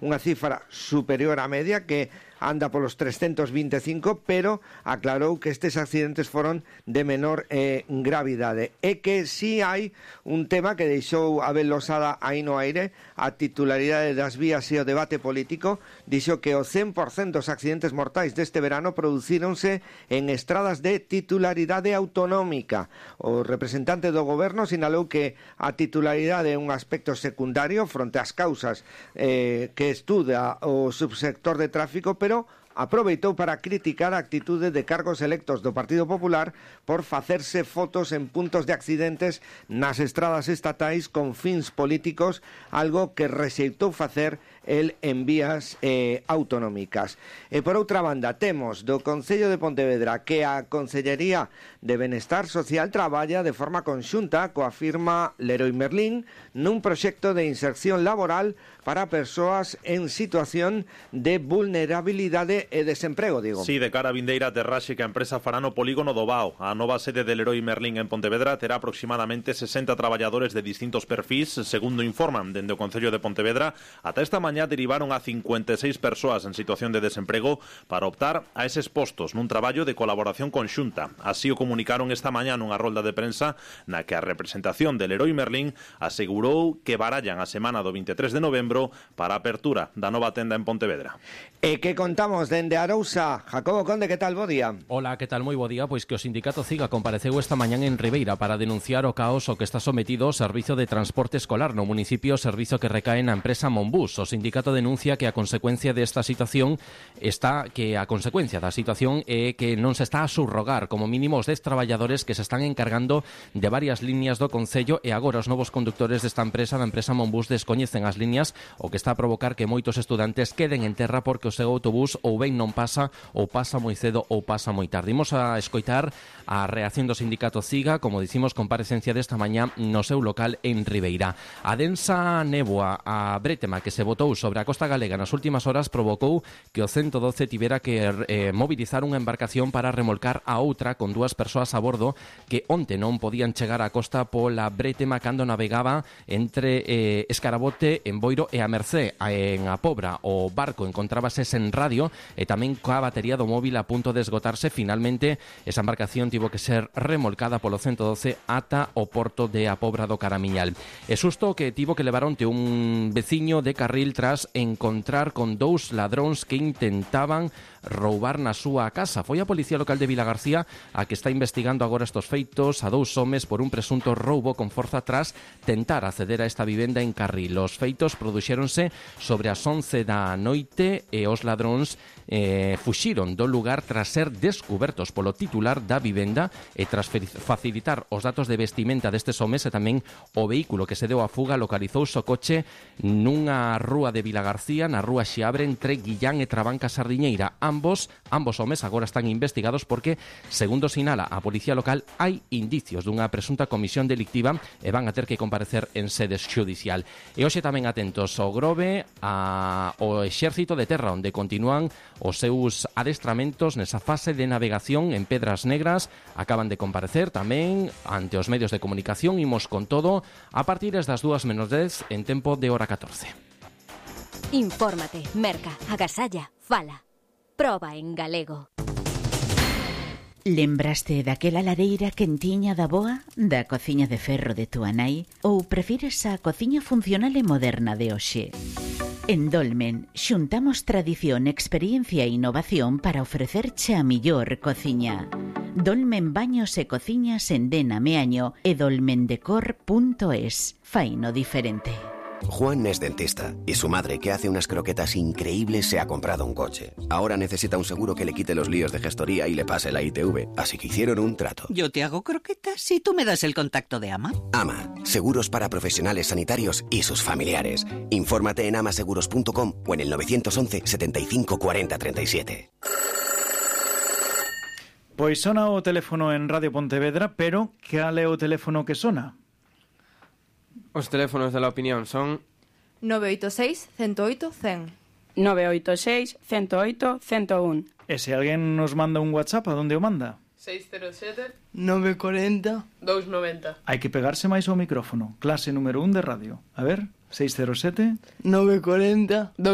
unha cifra superior á media que anda polos 325, pero aclarou que estes accidentes foron de menor gravidade. E que si hai un tema que deixou Abel Losada aí no aire, a titularidade das vías e o debate político. Dixo que o 100% dos accidentes mortais deste verano producíronse en estradas de titularidade autonómica. O representante do goberno sinalou que a titularidade é un aspecto secundario fronte ás causas que estuda o subsector de tráfico, pero aproveitou para criticar a actitude de cargos electos do Partido Popular por facerse fotos en puntos de accidentes nas estradas estatais con fins políticos, algo que rexeitou facer el en vías autonómicas. E por outra banda, temos do Concello de Pontevedra que a Consellería de Benestar Social traballa de forma conxunta coa firma Leroy Merlin nun proxecto de inserción laboral para persoas en situación de vulnerabilidade e desemprego, digo. Sí, de cara a vindeira aterraxe que a empresa fará no polígono do Bao. A nova sede de Leroy Merlin en Pontevedra terá aproximadamente 60 traballadores de distintos perfis, segundo informan dende o Concello de Pontevedra. Ata esta mañá derivaron a 56 persoas en situación de desemprego para optar a eses postos nun traballo de colaboración conxunta. Así o comunicaron esta mañá nunha rolda de prensa na que a representación de Leroy Merlin asegurou que barallan a semana do 23 de novembro para a apertura da nova tenda en Pontevedra. E que contamos dende Arousa. Jacobo Conde, que tal? Bo día. Hola, que tal? Moi bo día. Pois que o sindicato CIGA compareceu esta mañán en Ribeira para denunciar o caos o que está sometido o servizo de transporte escolar no municipio, servizo que recae na empresa Monbus. O sindicato denuncia que a consecuencia desta situación é que non se está a subrogar como mínimo os 10 traballadores que se están encargando de varias líneas do Concello, e agora os novos conductores desta empresa, da empresa Monbus, descoñecen as líneas, o que está a provocar que moitos estudantes queden en terra porque o seu autobús ou ben non pasa, ou pasa moi cedo ou pasa moi tarde. Imos a escoitar a reacción do sindicato CIGA, como dicimos, comparecencia desta mañá no seu local en Ribeira. A densa néboa, a brétema que se botou sobre a costa galega nas últimas horas provocou que o 112 tivera que mobilizar unha embarcación para remolcar a outra con 2 persoas a bordo que onte non podían chegar á costa pola brétema cando navegaba entre Escarabote, en Boiro e a Mercé. En a Pobra o barco encontrábase sen radio e tamén coa batería do móvil a punto de esgotarse. Finalmente, esa embarcación tivo que ser remolcada polo 112 ata o porto de a Pobra do Caramiñal. E susto que tivo que levar onte un veciño de Carril tras encontrar con 2 ladróns que intentaban roubar na súa casa. Foi a Policía Local de Vilagarcía a que está investigando agora estos feitos a 2 homes por un presunto roubo con forza tras tentar acceder a esta vivenda en Carril. Os feitos produxéronse sobre as 11 da noite e os ladróns fuxiron do lugar tras ser descubertos polo titular da vivenda e tras facilitar os datos de vestimenta destes homes e tamén o vehículo que se deu a fuga. Localizouse o coche nunha rúa de Vilagarcía, na rúa Xiabre, entre Guillán e Trabanca Sardiñeira. Ambos homes agora están investigados porque, segundo sinala a Policía Local, hai indicios dunha presunta comisión delictiva e van a ter que comparecer en sede xudicial. E hoxe tamén atentos ao Grove, ao Exército de Terra, onde continúan os seus adestramentos nesa fase de navegación en Pedras Negras. Acaban de comparecer tamén ante os medios de comunicación. Imos con todo a partir das 2:10 en tempo de hora 14. Infórmate, merca, agasalla, fala. Proba en galego. Lembraste daquela lareira quentiña da boa, da cociña de ferro de túa nai, ou prefires a cociña funcional e moderna de hoxe? En Dolmen xuntamos tradición, experiencia e innovación para ofrecerche a millor cociña. Dolmen Baños e Cociñas en Dena Meaño e dolmendecor.es. Faino diferente. Juan es dentista y su madre, que hace unas croquetas increíbles, se ha comprado un coche. Ahora necesita un seguro que le quite los líos de gestoría y le pase la ITV, así que hicieron un trato. Yo te hago croquetas y tú me das el contacto de AMA. AMA, seguros para profesionales sanitarios y sus familiares. Infórmate en amaseguros.com o en el 911 75 40 37. Pois sona o teléfono en Radio Pontevedra, pero cal é o teléfono que sona? Os teléfonos de la opinión son 986 108 100. 986 108 101. E se alguén nos manda un WhatsApp, a donde o manda? 607 940 290. Hai que pegarse máis ao micrófono. Clase número 1 de radio. A ver, 607 940 290.